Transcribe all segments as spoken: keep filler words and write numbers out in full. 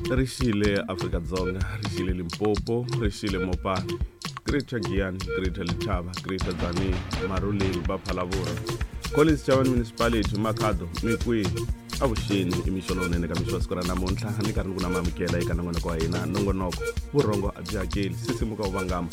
Ri xile Afrika-Dzonga, ri xile Limpopo, ri xile Mopani, Greater Giyani, Greater Letaba, Greater Tzaneen, Maruleng, Baphalavura, Collins Chabane Municipality, Makhado, Mikwihi, avuxeni i mixo lowunene ka mixo wa siku ra namuntlha ni karhi ni ku na mamukela eka nongonoko wa hina nongonoko vurhongo a byi hakeli sisimuka wu vangama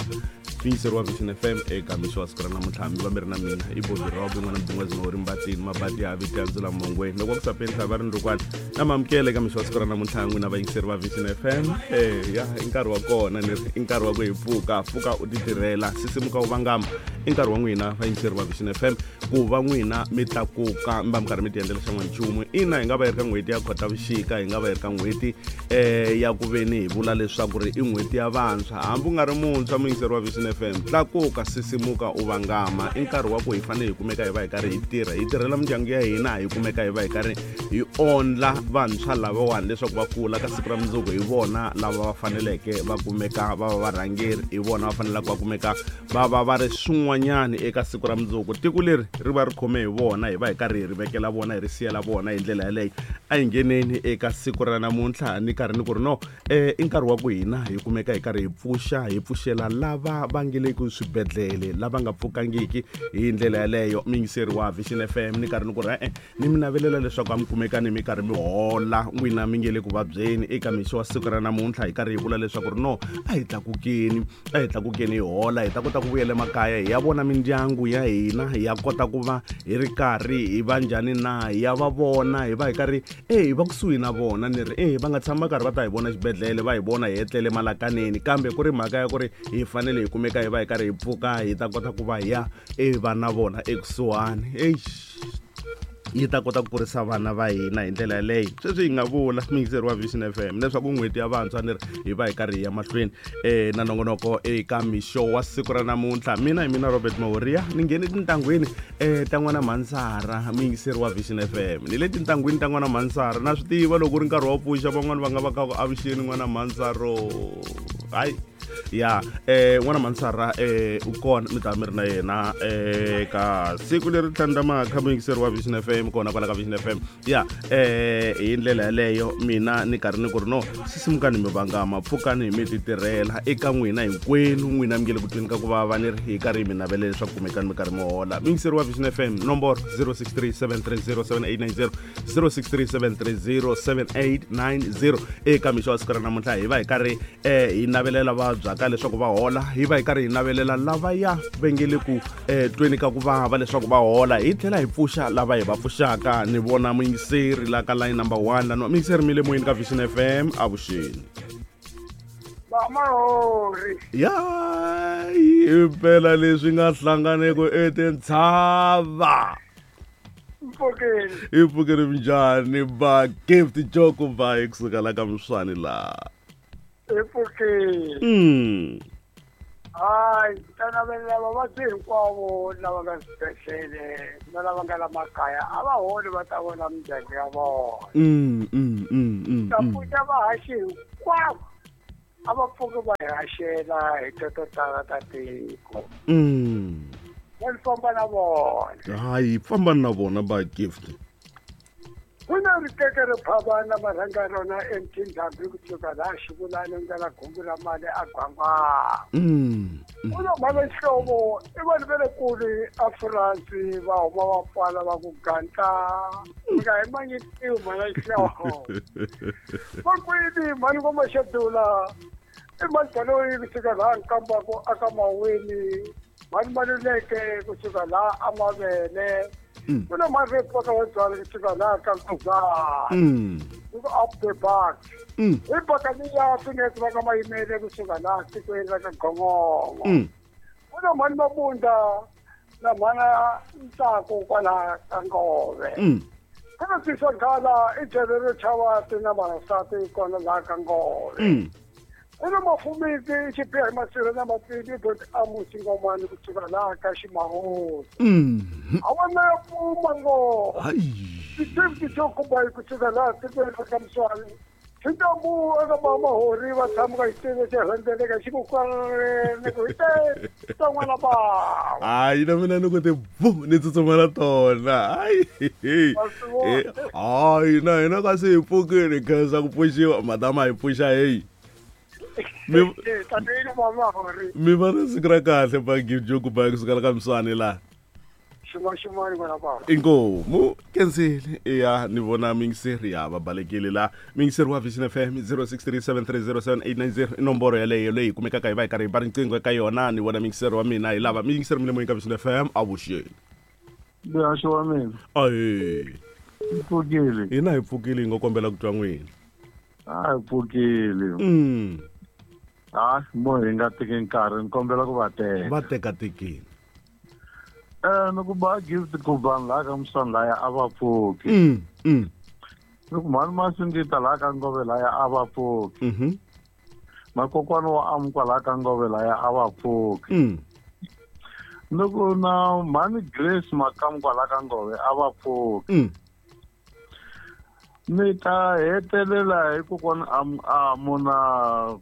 miyiseri wa Vision F M eka mixo wa siku ra namuntlha mi va mi ri na mina i Bobby Rob n'wana mudingwazi mawuri mbatini mabati ya viti ya ndzula mongweni loko ku sapeni va ri ndukwana na mamukela eka mixo wa siku ra namuntlha n'wina vayingiseri va Vision F M eh ya i nkarhi wa kona ni ri i nkarhi wa ku hi pfuka pfuka u titirhela sisimuka wu vangama i nkarhi wa n'wina vayingiseri va Vision F M ku va n'wina mi tlakuka mi va mi karhi mi tiendlela xan'wanchumu ina hi nga va hi ri ka n'hweti ya Khotavuxika hi nga va hi ri ka n'hweti eh ya ku veni hi vula leswaku ri i n'hweti ya vantshwa hambi u nga ri muntshwa muyingiseri wa Vision F M tlakuka sisimuka u vangama i nkarhi wa ku hi fanele hi kumeka hi va hi karhi hi tirha hi tirhela mindyangu ya hina hi kumeka hi va hi karhi hi ondla vantshwa lavawani leswaku va kula ka siku ra mundzuku hi vona lava va faneleke va kumeka va va varhangeri hi vona va faneleke va kumeka va va va ri swin'wanyani eka siku ra mundzuku tiko leri ri va ri khome hi vona hi va hi karhi hi ri vekela vona hi ri siyela vona hi ndlela yaleyo a hi ngheneni eka siku ra namuntlha ni karhi ni ku ri no eh i nkarhi wa ku hina hi kumeka hi karhi hi pfuxa hi pfuxela lava va nge le ku swibedhlele lava nga pfukangiki hi ndlela yaleyo miyingiseri wa Vision F M ni karhi ni ku ri e-e ni mi navelela leswaku a mi kumeka ni mi karhi mi hola n'wina mi nge le ku vabyeni eka mixo wa siku ra namuntlha hi karhi hi vula leswaku ri no a hi tlakukeni a hi tlakukeni hi hola hi ta kota ku vuyela emakaya hi ya vona mindyangu ya hina hi ya kota ku va hi ri karhi hi va njhani na hi ya va vona hi va hi karhi e hi va kusuhi na vona ni ri e va nga tshama karhi va ta hi vona xibedhlele va hi vona hi etlele malakaneni kambe ku ri mhaka ya ku ri hi fanele hi kumeka hi va hi karhi hi pfuka hi ta kota ku va hi ya e va na vona ekusuhani eish yi ta kota ku kurisa vana va hina hi ndlela yaleyo sweswi hi nga vula miyingiseri wa Vision F M leswaku n'hweti ya vantshwa ni ri hi va hi karhi hi ya mahlweni um na nongonoko eka mixo wa siku ra namuntlha mina hi mina Robert Mahoria ni nghene tintangwini um ta n'wana Mhansara muyingiseri wa Vision F M ni le tintangwini ta n'wana Mhansara na swi tiva loko ku ri nkarhi wa pfuxa van'wani va nga va ka ku avuxeni n'wana Mhansaro hayi ya eh n'wana Mhansara eh u kona mi ta mi ri na yena eh ka siku leri tlhandlamaka muyingiseri wa Vision F M kona kwala ka Vision F M ya eh hi ndlela yaleyo mina ni karhi ni ku ri no sisimukani mi vangama pfukani mi titirhela eka n'wina hinkwenu n'wina mi nge le ku tweni ka ku vava ni ri hi karhi hi mi navelela leswaku kumekani mi karhi mi hola muyingiseri wa Vision F M nomboro zero six three seven three zero seven eight nine zero zero six three seven three zero seven eight nine zero eka mixo wa siku ra namuntlha hi va hi karhi eh hi navelela vabyaka leswaku va hola hi va hi karhi hi navelela lava ya va nge le ku eh tweni ka ku vava leswaku va hola hi tlhela hi pfuxa lava hi va pfuxaka ni vona muyingiseri la ka line number one lano muyingiseri mi le moyeni ka Vision F M avuxeni Vamahori ya impela leswi nga hlanganeko etintshava mpfukeni i pfukeni minjhani ba Gift Joko ba kusuka la ka Mswani la epfukeni mm hayi ta navelela vavabyi hinkwavo lava nga swibedhlele na lava nga la makaya a va holi va ta vona mindyangu ya vona mm mm mm mm ta pfuxa vahaxi hinkwavo a va pfuki va hi haxela hi to tala ta tiko mm va ni famba na vona hayi famba na vona ba Gift ku na rikeke ri phavana marhanga rona emtindhambi kusuka laha xivulani ndlela gumbi ra mali a gwangwana mm ku na mhana nxihlovo i vanhu va le kule a France va huma va pfala va ku gantla mi nga hi manyitiwi mhana nxihlovo va kwini mhani ngoma xedula i mhani baloyi kusuka laha nkambako aka maweni mhani maluleke kusuka laha a mavele ku na mhani va byala kusuka laha ka Nkuzana mm ku up the back mm hi bakaniya finesi va ka mayimele kusuka laha tikweni ra ka Gongongo mm ku na mhani Mabunda na mhana Ntsako kwalaha ka Ngove mm ku na tisa nghala i jele ro chava tina vavasati kona laha ka Ngove mm ku na mafumisi xibiha hi masirha na matini bot amusi ngomani kusuka laha ka Ximahosi mm a vona ya pfuma ngo hayi ti-fifty chokubayi kusuka laha tikweni ra ka Mswani Xintambu eka mamahori va tshama ka xiteve xi rhendzeleka xi ku kwaleni ku hite ta n'wana bava. Hayi na mina ni ku ti bu ni tsutsuma na tona. Hayi. Hayi na hina kasi hi pfukile khensa ku pfuxiwa madama hi pfuxa heyi. Mi tatini mamahori. Mi va na siku ra kahle ba Gift ba kusuka ka Mswane la. Xin'wana n'wana bava. Inkomu kensile ya ni vona mingiseri ya va balekile la mingiseri wa Vision F M zero six three seven three zero seven eight nine zero inomboro yaleyo leyi kumekaka hi va hi karhi hi ba riqingho eka yona ni vona mingiseri wa mina hi lava mingiseri mi le moyeni ka Vision F M avuxeni. Muhaxi wa mina. Ahee. Hi pfukile. Hina hi pfukile hi ngo kombela ku twa n'wina. A hi pfukile. Mm. Ah, mo hi nga teki nkarhi ni kombela ku va teka. Va teka tekini. Eh ni ku ba Gift ku vanhu laha ka Mswane laya a va pfuki. Mm. Mm. Ni ku mhani Masingita laha ka Ngove laya a va pfuki. Mhm. Makokwana wa Amukwa laha ka Ngove laya a va pfuki. Mm. Ni ku na mhani Grace Makamukwa laha ka Ngove a va pfuki. Mm. Ni ta hetelela hi kokwana Amu na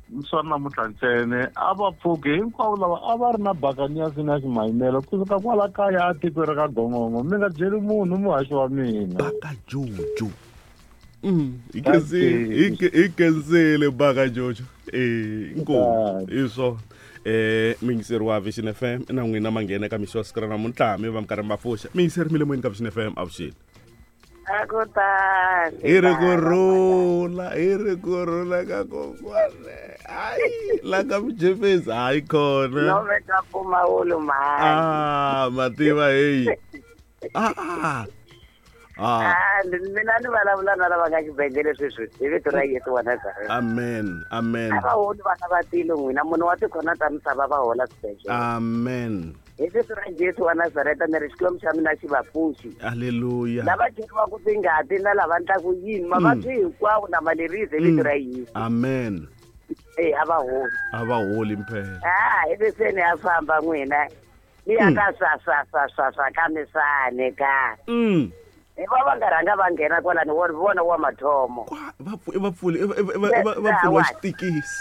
Mswane namuntlha ntsena a va pfuki hinkwavo lava a va ri na bakanyasi na ximayimelo kusuka kwala kaya a tikweni ra ka Gongongo mi nga byeli munhu muhaxi wa mina. Baka Jojo. Mm, hi kensile hi kensile Baka Jojo. Eh, inkomu hi swona. Eh mingiseri wa Vision F M na n'wina ma nghena ka mixo wa siku ra namuntlha mi va mi karhi ma pfuxa. Mingiseri mi le moyeni ka Vision F M avuxeni. Akutani. Hi ri ku rhula, hi ri ku rhula ka kokwana. Hayi, la ka Mjefesi hayi khona. No veka mpfumawulo mhani. Ah, mativa heyi. Ah ah. Ah. Ah, mina ni vulavula na lava nga xibedhlele sweswi hi vito ra Yesu wa Nazareta. Amen. Amen. A va holi vana va tilo n'wina munhu wa tikhona ta misava va hola swibedhlele. Amen. Hi vito ra Yesu wa Nazareta ni ri Xikwembu xa mina xi va pfuxi. Haleluya. Lava cheriwaka tingati na lava ndlaku yini mavabyi hinkwawo na malerisi hi vito ra Yesu. Amen. Eh a va holi. A va holi mphela. Ah, ivi se ni ya famba n'wina. Ni ya ka swa swa swa swa swa ka Misane ka. Mm. Hi va va nga rhanga va nghena kwalani wo vona wa mathomo. Kwa va va pfule va va pfula xitikisi.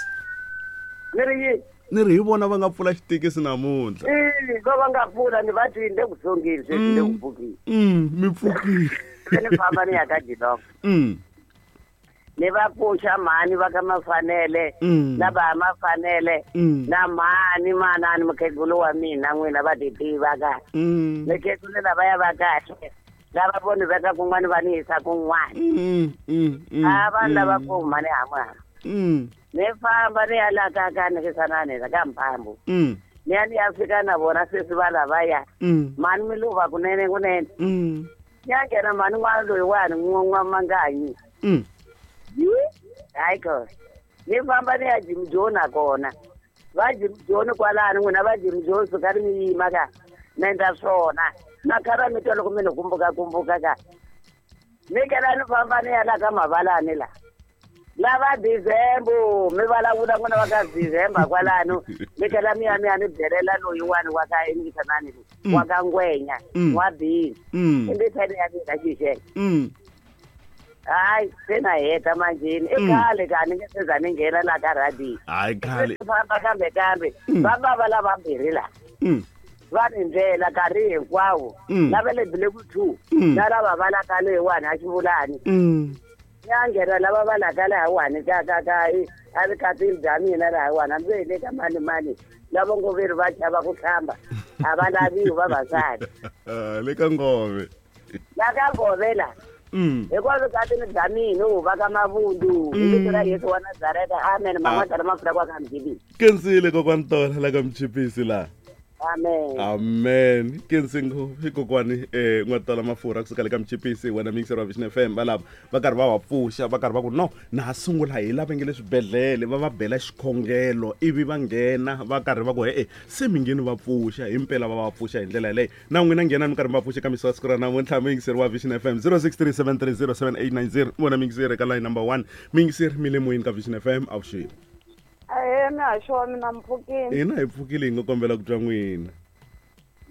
Ni ri yini? Ni ri hi vona va nga pfula xitikisi namuntlha. Eh, va va nga pfula ni va ti le ku dzongeni sweswi le ku pfukile. Mm, mi pfukile. Ni famba ni ya ka Jilongo. Mm. Ni va pfuxa mhani va ka Mafanele na va Mafanele na mhani manani mukhegulu wa mina n'wina va ti tiva ka. Mukhegulu lava ya va kahle. Lava voni veka kun'wana va ni yisa kun'wana. Mm, mm, A vanhu lava ku mhani hamwana. Mm. Ni famba ni ya la ka ka nikisanani la ka Mphambu. Mm. Ni ya ni ya fika na vona sweswi va lavaya. Mm. Mhani mi luva kunene kunene. Mm. Ni ya nghena mhani n'wana loyiwani n'wamanganyi. Mm. Hayi ko. Ni famba ni ya Jim Jones nakona. Va Jim Jones kwalano n'wina va Jim Jones suka ri mi yima ka. Mi endla swona. Na khara mi twa loko mi ni kumbuka kumbuka ka. Ni kela ni famba ni ya la ka Mavalani la. Lava December mi vulavula n'wina va ka December kwalano mi kela mi ya mi ya ni byelela loyiwani wa ka Inisanani wa ka Ngwenya wa Bini. Imbithani ya mina xixele. Mm. Hayi se na heta manjheni i khale ka ni nge se za ni nghena la ka radio. Hayi khale. Famba kambe kambe va va lavambirhi la. Mm. Va ni ndlela nkarhi hinkwawo lava le Blue two na lava va la ka leyiwani a xivulani. Mm. Ya nghena lava va la ka lahawani ka ka ka a vukatini bya mina lahawani hambi hi le ka mani mani lava ngo veri va chava ku hlamba a va laviwi vavasati. Le ka Ngove. La ka Ngove la. Mm. Hikwalaho vukatini bya mina u va ka Mavundu hi vito ra Yesu wa Nazareta. Amen. Man'wana mafurha kwa ka Mjibisi. Kensile kokwani Tola la ka Mchipisi la. Amen. Amen. Kensingo hi kokwani eh n'watala mafurha kusuka le ka Mchipisi wena mixer wa Vision F M va lava va karhi va va pfuxa va karhi va ku no na ha sungula hi lava nge le swibedhlele va va bela xikhongelo ivi va nghena va karhi va ku e se mi ngheni va pfuxa himpela va va pfuxa hi ndlela yaleyo na n'wina nghena mi karhi mi va pfuxa ka mixer wa siku ra namuntlha mixer wa Vision F M zero six three seven three zero seven eight nine zero vona mixer eka line number one mixer mi le moyeni ka Vision F M avuxeni. Ahee mihaxo wa mina mi pfukile. Hina hi pfukile hi nga kombela ku twa n'wina.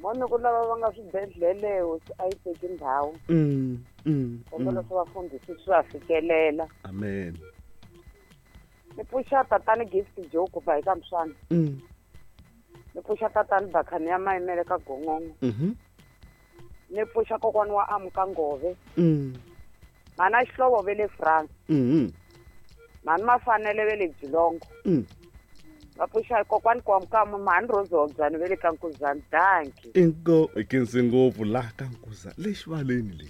Moni ku lava va nga swibedhlele hosi a yi teki ndhawu. Mm, mm. Kombela swi vafundhisi swi va fikelela. Amen. Ni pfuxa tatani Gift Joe ku ba eka Mswana. Mm. Ni pfuxa tatani Bakhani ya Mayimele ka Gongongo. Mhm. Ni pfuxa kokwana wa Amuka Ngove. Mm. Mana Xihlovo ve le France. Mhm. Mani Mafanele ve le Jilongo. Mm. Va pfuxa kokwani Kwamukama mhani Rozobyani ve le ka Nkuzani. Danki. Inko ikinsi ngopfu la ka Nkuzani le xivaleni le.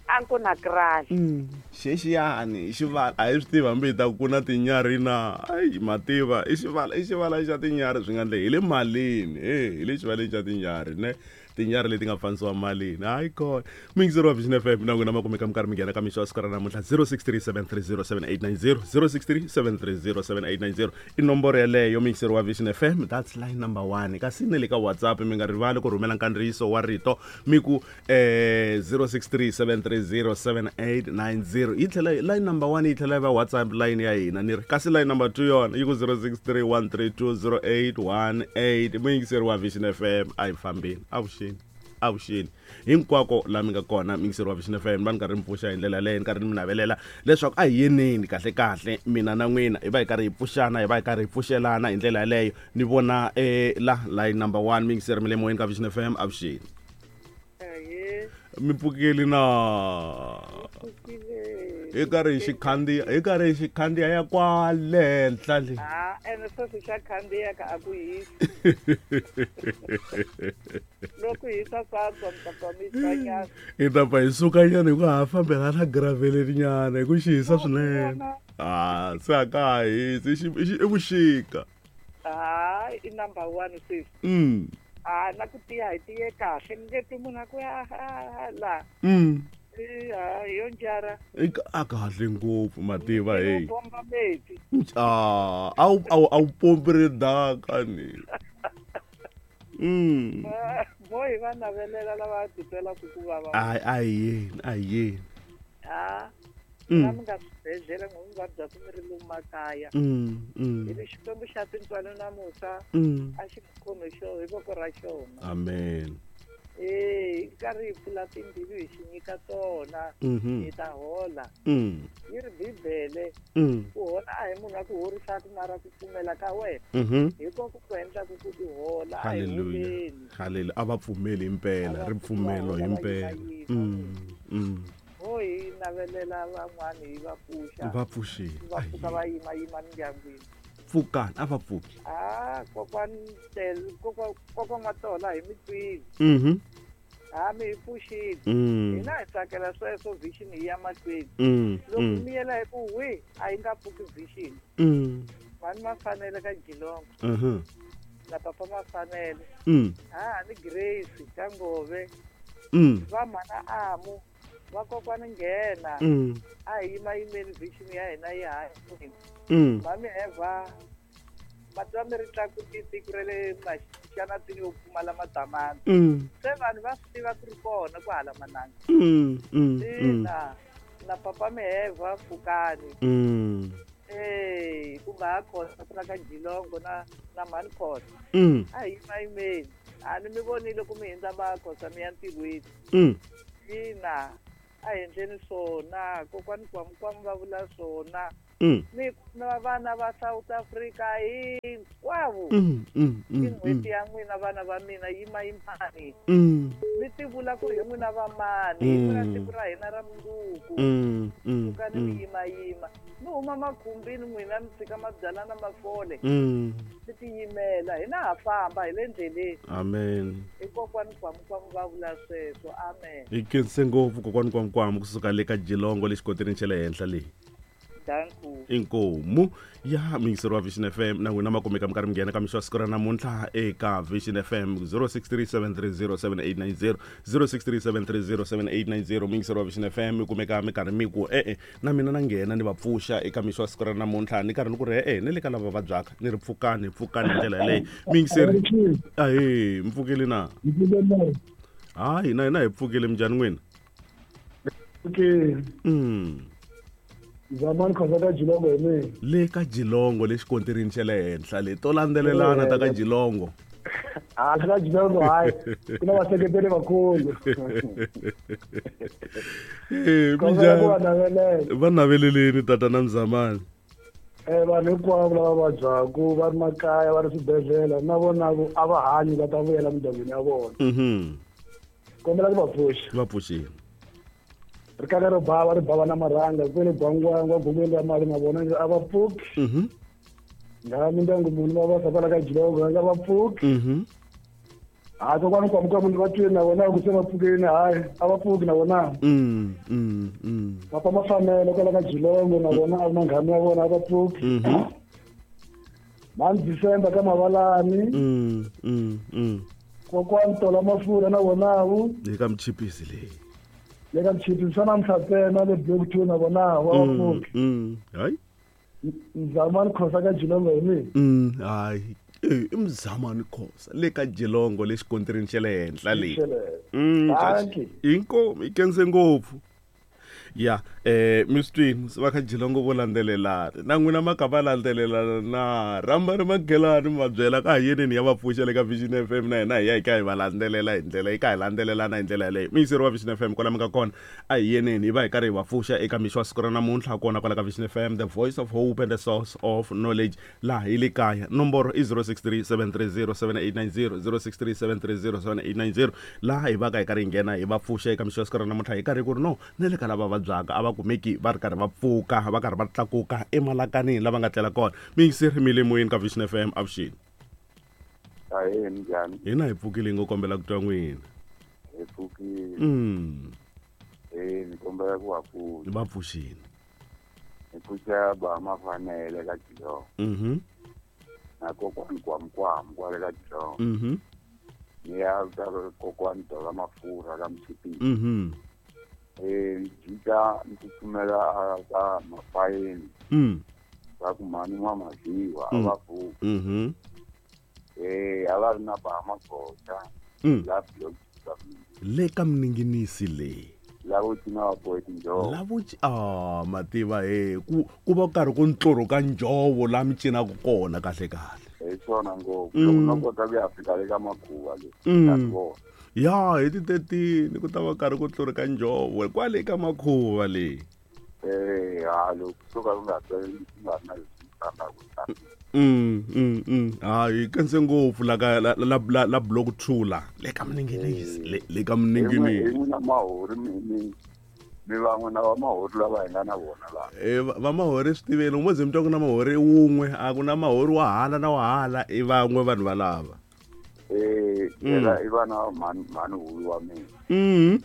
Anku na krali. Mm. Xexiyani xivala a hi swi tivi hambi hi ta ku na tinyarhi na ayi mativa i xivala i xivala xa tinyarhi swi nga ndle hi le malini e hi le xivaleni xa tinyarhi ne tinyarhi leti nga fanisiwa malini hayi kona muyingiseri wa Vision F M na n'wina ma kumeka mi karhi mi nghena ka mixo wa siku ra namuntlha zero six three seven three zero seven eight nine zero zero six three seven three zero seven eight nine zero i nomboro yeleyo muyingiseri wa Vision F M that's line number one kasi na le ka WhatsApp mi nga rivali ku rhumela nkandziyiso wa rito mi ku eh zero six three seven three zero seven eight nine zero yi tlhela line number one yi tlhela yi va WhatsApp line ya hina ni ri kasi line number two yona yi ku zero six three one three two zero eight one eight muyingiseri wa Vision F M a hi fambeni avuxeni avuxeni hinkwako laha mi nga kona muyingiseri wa Vision F M va ni karhi mi pfuxa hi ndlela yaleyo ni karhi mi navelela leswaku a hi yeneni kahle kahle mina na n'wina hi va hi karhi hi pfuxana hi va hi karhi hi pfuxelana hi ndlela yaleyo ni vona eh la line number one muyingiseri mi le moyeni ka Vision F M avuxeni mi pfukeli na hi karhi hi xikhandziya hi karhi hi xikhandziya ya kwale henhla le ah ene sweswi xa khandziya ka a ku hisi loko hisa swa mi ta pfa mi tshwanyana hi ta pfa hi sukanyana hi ku ha fambela na graveleninyana hi ku xi hisa swinene ah se a ka ha hisi i vuxika hayi i number one sweswi mm ah na ku tiya hi tiye kahle ni nge twi munhu a ku ya la mm yo njara a kahle ngopfu mativa hey bomba meti ah a wu a wu pompi ridaka ni mm mo hi va navelela lava titwelaka ku vava a a hi yeni a hi yeni ah na mi nga swibedhlele n'wi mi vabyaku mi ri lomu makaya mm hi ri Xikwembu xa tintswalo na musa a xi mi khomi xo hi voko ra xona amen eh hi karhi hi pfula timbilu hi xi nyika tona hi ta hola yi ri Bibele ku hola a hi munhu a ku horisaka mara ku pfumela ka wena hi kona ku endlaku ku ti hola a hi holeni haleluya a va pfumeli himpela ripfumelo himpela mm ho hi navelela van'wani hi va pfuxa va pfuxile va pfuka va yima yima mindyangwini pfukani a va pfuki ah kokwani tel kokwa kokwa N'watola hi mi twile mhm ha mi hi pfuxile hina hi tsakela sweswo vision hi ya mahlweni loko mi yela hi ku wi a yi nga pfuki vision mhani Mafanele ka Jilongo mhm na papa Mafanele ha ni Grace ka Ngove va mhana Amu va kokwani nghena a hi yima yimeni vision ya hina yi hanya mami Eva matwa mi ri tlakuti tiko ra le maxanatini yo pfumala madamana se vanhu va swi tiva ku ri kona ku hala mananga ina na papa Miheva pfukani eh kumbe ha Khosa ku na ka Jilongo na na mhani Khosa a hi yima yimeni a ni mi vonile ku mi hindza va Khosa mi ya ntirhweni ina a hi endleni swona kokwani Kwamukwamu va vula swona ni na vana va South Africa hinkwavo i n'hweti ya n'wina vana va mina yima yimani mi ti vula ku ri hi n'wina va mani hi n'wina siku ra hina ra mundzuku sukani mi yima yima mi huma makhumbini n'wina mi tshika mabyala na mafole mi tiyimela hina ha famba hi le ndleleni amen hi kokwani Kwamukwamu va vula sweswo amen hi khense ngopfu kokwani Kwamukwamu kusuka le ka Jilongo le xikoteleni xa le henhla leyi inkomu ya muyingiseri wa Vision F M na n'wina ma kumeka mi karhi mi nghena ka mixo wa siku ra namuntlha eka Vision F M zero six three seven three zero seven eight nine zero zero six three seven three zero seven eight nine zero muyingiseri wa Vision F M mi kumeka mi karhi mi ku e-e na mina na nghena ni va pfuxa eka mixo wa siku ra namuntlha ni karhi ni ku ri e-e ni le ka lava vabyaka ni ri pfukani pfukani hi ndlela yaleyo muyingiseri ahe mi pfukile na hayi hina hina hi pfukile minjhani n'wina mm Zamani Khosa ka Jilongo hi mina le ka Jilongo le xikontirini xa le henhla le to landzelelana ta ka Jilongo ah la ka Jilongo hayi ku na vaseketeri vakulu eh minjhani va naveleleni tatana Mzamani Eh vanhu hinkwavo lava vabyaku va ri makaya va ri swibedhlele na vona a va hanyi va ta vuyela mindyangwini ya vona. Mhm. Kombela ku va pfuxa. Va pfuxile. Ri kaka ri bava ri bava na marhanga kwele gwangwangwa gumeni ra mali na vona a va pfuki. Mhm. Nga mindyangu munhu va va kwala ka Jilongo nga va pfuki. Mhm. Ha kokwani kwamuka munhu va twini na vona ku se va pfukile hayi a va pfuki na vona. Mm mm mm. Papa Mafanele kwala ka Jilongo na vona a manghana ya vona a va pfuki. Mhm. Mani December ka Mavalani. Mm mm mm. Kokwani Tola Mafurha na vona wu. Le ka Mchipisi le. Le ka Mchipisi swa namuntlha ntsena le Block two na vona va va pfuki. Mm. Hayi. Mzamani Khosa ka Jilongo hi mina. Mm hayi. I Mzamani Khosa le ka Jilongo le xikontirini xa le henhla le. Mm inkomu i kense ngopfu. Ya eh mi swi twini va ka Jilongo vo landzelelana na n'wina ma ka va landzelelana na rhamba ri magelani mi va byela ka yeneni ya va pfuxa le ka Vision F M na hina hi ya hi ka hi va landzelela hi ndlela yi ka hi landzelelana hi ndlela yaleyo. Miyiseri wa Vision F M kwala mi nga kona a hi yeneni hi va hi karhi hi va pfuxa eka mixo wa siku ra namuntlha kona kwala ka Vision F M, the voice of hope and the source of knowledge laha hi le kaya. Nomboro i zero six three seven three zero seven eight nine zero, zero six three seven three zero seven eight nine zero laha hi va ka hi karhi hi nghena hi va pfuxa eka mixo wa siku ra namuntlha hi karhi ku ri no na le ka lava vabyaka a va kumeki va ri karhi va pfuka va karhi va tlakuka emalakanini lava nga tlela kona. Miyingiseri mi le moyeni ka Vision F M avuxeni. Ahee, minjhani? Hina hi pfukile ngo kombela ku twa n'wina. Hi pfukile. Mm. Eh ni kombela ku va pfuxa. Va pfuxini. Hi pfuxa ba Mafanele ka Jilongo. Mhm. Na kokwani Kwamkwam kwale ka Jilongo. Mhm. Ni ya ka kokwani Tola Mafurha ka Mchipisi. Mhm. Eh jika ni tsutsumela ka Mafayeni. Mm. Va ku mhani n'wa Maziwa a va pfuki. Mhm. Eh a va ri na ba Magoxa. Mm. La Block Le ka Mninginisi le. Lavo cina va bohe tinjhovo. Lavo ah mativa he ku ku va karhi ku ntlurhu ka njhovo la mi cinaka kona kahle kahle. Hi swona ngopfu loko no kota ku ya fika le ka makhuva le. Mm. Ya hi ti thirteen ku ta va karhi ku tlurhu ka njhovo kwale ka makhuva le. Eh ha loko kusuka ku nga ku nga ri na leswi fambaka. Mm mm mm hayi kense ngopfu la ka la la la Block two la le ka Mninginisi le le ka Mninginisi. Hi n'wina Mahori mi mi mi van'we na va Mahori lava hi nga na vona la. Eh va Mahori swi tiveni u mo ze mi twa ku na Mahori wun'we a ku na Mahori wa hala na wa hala i van'we vanhu valava. Eh yena i vana mhani mhani huyu wa mina. Mm.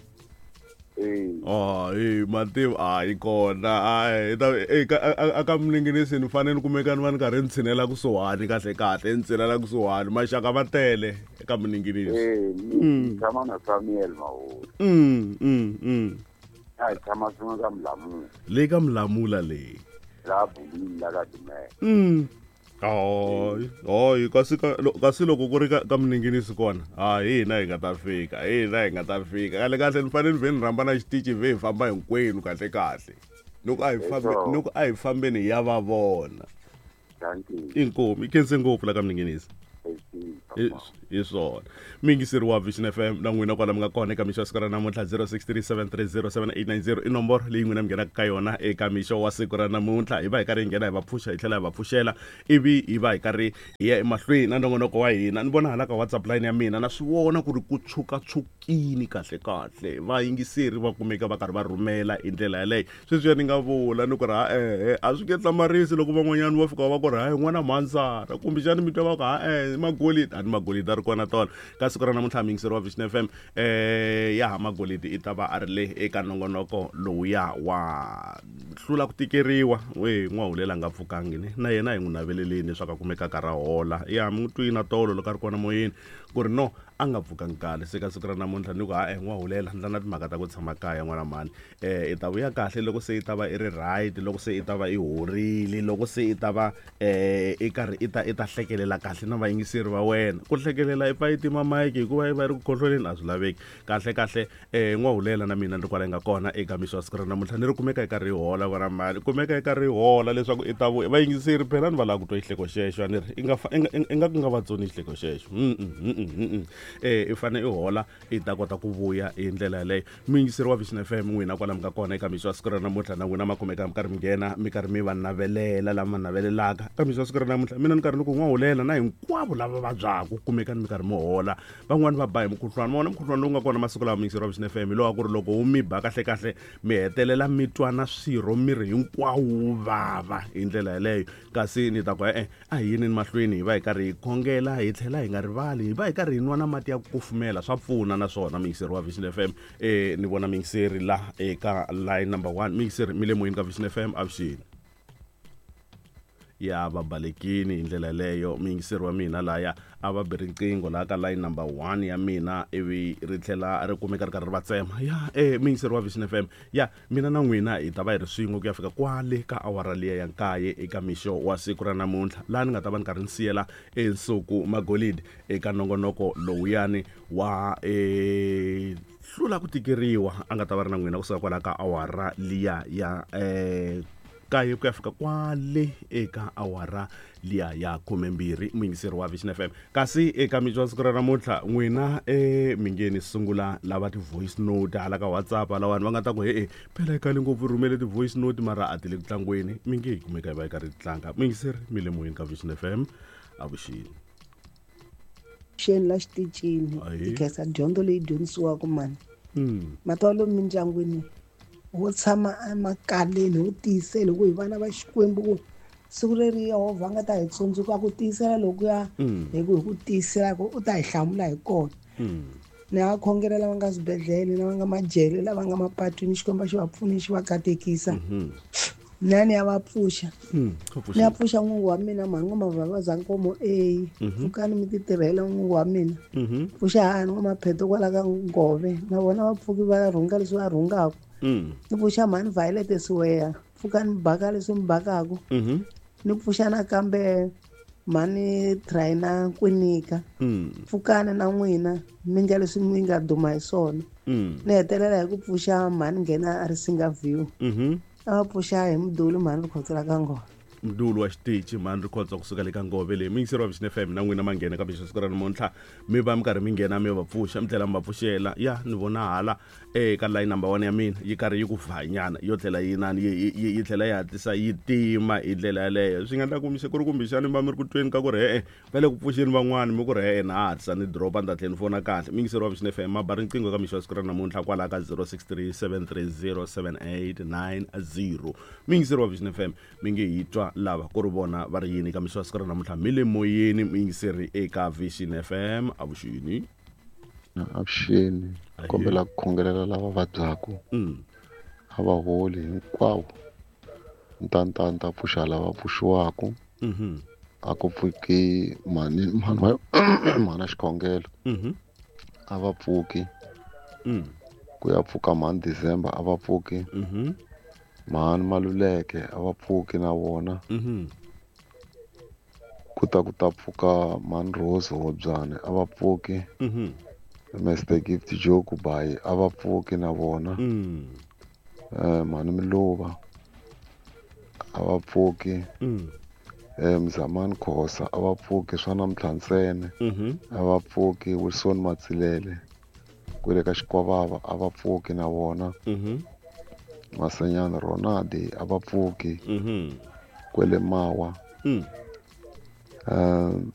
Eh. Ah, eh mativa a yi kona a ta eka aka Mninginisi ni fanele kumeka ni va ni karhi ni tshinela kusuhani kahle kahle ni tshinela kusuhani maxaka va tele eka Mninginisi. Eh ni tshama na Samuel Mahori. Mm mm mm. A hi tshama swin'we ka Mlamula. Le ka Mlamula le. La Bulini la ka Dumela. Mm. Hayi hayi kasi ka kasi loko ku ri ka ka Mninginisi kona ha hina hi nga ta fika hina hi nga ta fika kahle kahle ni fanele ni ve ni rhamba na xitichi ve hi famba hinkwenu kahle kahle loko a hi fambe loko a hi fambeni hi ya va vona. Inkomu i khense ngopfu la ka Mninginisi. Hi swona miyingiseri wa Vision F M na n'wina kwala mi nga kona eka mixo wa siku ra namuntlha zero six three seven three zero seven eight nine zero i nomboro leyi n'wina mi nghenaka ka yona eka mixo wa siku ra namuntlha hi va hi karhi hi nghena hi va pfuxa hi tlhela hi va pfuxela ivi hi va hi karhi hi ya emahlweni na nongonoko wa hina. Ni vona hala ka WhatsApp line ya mina na swi vona ku ri ku tshuka-tshukini kahle kahle vayingiseri va kumeka va karhi va rhumela hi ndlela yaleyo. Sweswiya ni nga vula ni ku ri ha ehe a swi nge hlamarisi loko van'wanyana va fika va ku ri hayi n'wana mhandzara kumbexani mi twa va ku ha ehe magolidi a ni magolidi a ri kona tona ka siku ra namuntlha miyingiseri wa Vision F M eh ya ha magolidi i ta va a ri le eka nongonoko lowuya wa hlula ku tikeriwa we n'wahulela nga pfukangi ni na yena hi n'wi naveleleni leswaku a kumeka ka ra hola ya mi n'wi twina tolo loko a ri kona moyeni ku ri no a nga pfukangi kahle se ka siku ra namuntlha ni ku ha e n'wahulela ndla na timhaka ta ku tshama kaya n'wana mhani eh i ta vuya kahle loko se i ta va i ri right loko se i ta va i horile loko se i ta va eh i karhi i ta i ta hlekelela kahle na vayingiseri va wena. ntsena ku hlekelela i pfa yi tima mike hikuva yi va yi ri ku khohloleni a swi laveki kahle kahle um n'wahulela na mina ni ri kwala yi nga kona eka mixo wa siku ra namuntlha ni ri kumeka yi karhi yi hola vona mali kumeka yi karhi yi hola leswaku i ta vuya vayingiseri phela ni va lava ku twa xihleko xexo a ni ri i nga fa- i nga- i nga ku nga va tsoni xihleko xexo Mm, mm, mm, mm, mm. Eh, i fane i hola i ta kota ku vuya hi ndlela yaleyo muyingiseri wa Vision F M n'wina kwala mi nga kona eka mixo wa siku ra namuntlha na n'wina ma kumeka mi karhi mi nghena mi karhi mi va navelela lama navelelaka ka mixo wa siku ra namuntlha mina ni karhi ni ku n'wahulela na hinkwavo lava vabyaka kumekani mi karhi mi hola van'wani va ba hi mukhuhlwani ma vona mukhuhlwani lowu nga kona masiku lawa muyingiseri wa Vision F M hi lowa ku ri loko wu mi ba kahlekahle mi hetelela mi twa na swirho miri hinkwawo wu vava hi ndlela yaleyo kasi ni ta ku e-e a hi yinini mahlweni hi va hi karhi hi khongela hi tlhela hi nga rivali hi va hi karhi hi nwa na mati ya ku kufumela swa pfuna naswona muyingiseri wa Vision F M eh ni vona muyingiseri la eka line number one muyingiseri mi le moyeni ka Vision F M avuxeni ya va balekini hi ndlela yaleyo muyingiseri wa mina laya a va bi riqingho laha ka line number one ya mina ivi ri tlhela ri kumeka ri karhi ri va tsema ya eh muyingiseri wa Vision F M ya mina na n'wina hi ta va hi ri swin'we ku ya fika kwale ka awara liya ya nkaye eka mixo wa siku ra namuntlha laha ni nga ta va ni karhi ni siyela ensuku magolidi eka nongonoko lowuyani wa eh hlula ku tikeriwa a nga ta va ri na n'wina kusuka kwala ka awara liya ya eh kaye ku ya fika kwale eka awara liya ya khumembirhi muyingiseri wa Vision F M kasi eka mixo wa siku ra namuntlha n'wina e mi nge ni sungula lava ti-voice note hala ka WhatsApp hala vanhu va nga ta ku he-e phela i khale ngopfu rhumele ti-voice note mara a ti le ku tlangweni mi nge hi kumeka hi va hi karhi hi tlanga muyingiseri mi le moyeni ka Vision F M avuxeni xeni la xitichini Ahee. hi khensa dyondzo leyi dyondzisiwaka mani Mm. matwalo mindyangwini wo tshama emakaleni wo tiyisela ku hi vana va Xikwembu ku siku leri Yehovha a nga ta hi tsundzuka ku tiyisela lokuya Mm. hi ku hi ku tiyisela ku u ta hi hlamula hi kona Mm. ni nga khongela lava nga swibedhlele lava nga majele lava nga mapatwini Xikwembu a xi va pfuni xi va katekisa Mhm. mina ni ya va pfuxa Mm. ni ya pfuxa n'wingi wa mina mhani n'wamavhavaza nkomo a Mhm. pfukani mi ti tirhela n'wingi wa mina Mhm. pfuxa hani n'wamapheto kwala ka ngove na vona va pfuki va rhunga leswi va rhungaka Mm. ni pfuxa mhani Violet Siweya pfukani mi baka leswi mi bakaka Mhm. ni pfuxa nakambe mhani Traina Kwinika Mm. pfukani na n'wina mi nga leswi mi nga duma hi swona Mm. ni hetelela hi ku pfuxa mhani nghena a ri singa view Mhm. a va pfuxa hi muduli mhani Rikhotso ka ngoma mdulu wa xitichi mhani Rikhotso kusuka le ka ngove leyi muyingiseri wa Vision F M na n'wina ma nghena ka mixo siku ra namuntlha mi va mi karhi mi nghena mi va pfuxa mi tlhela mi va pfuxela ya ni vona hala eka line number one ya mina yi karhi yi ku vhanyana yo tlhela yi nani yi- yi yi tlhela yi hatlisa yi tima hi ndlela yaleyo swi nga endla ku ku ri kumbexani mi va mi ri ku tweni ka ku ri e-e va le ku pfuxeni van'wani mi ku ri e-e na hatlisa ni dropa ni ta tlhela ni fona kahle muyingiseri wa Vision F M ma ba riqingho ka mixo wa siku ra namuntlha kwalaha ka zero six three seven three zero seven eight nine zero muyingiseri wa Vision F M mi nge hi twa lava ku ri vona va ri yini ka mixo wa siku ra namuntlha mi le moyeni muyingiseri eka Vision F M avuxeni avuxeni Ahee. kombela ku khongelela lava vabyaka Mm. a va holi hinkwavo ntanta ni ta pfuxa lava pfuxiwaka Mhm. a ku pfuki mhani mhani wa mhana xikhongelo Mhm. a va pfuki Mm. ku ya pfuka mhani December a va pfuki Mhm. mhani Maluleke a va pfuki na vona Mhm. ku ta ku ta pfuka mhani Rose Hobyane a va pfuki Mhm. Mister Gift Joe Kubayi a va pfuki na vona Mm. eh mhani Miluva a va pfuki Mm. eh Mzamani Khosa a va pfuki swa namuntlha ntsena Mhm. a va pfuki Wilson Matsilele kwele ka Xikwavava a va pfuki na vona Mhm. Masenyana Ronaldi a va pfuki Mhm. kwele Mawa Mm. eh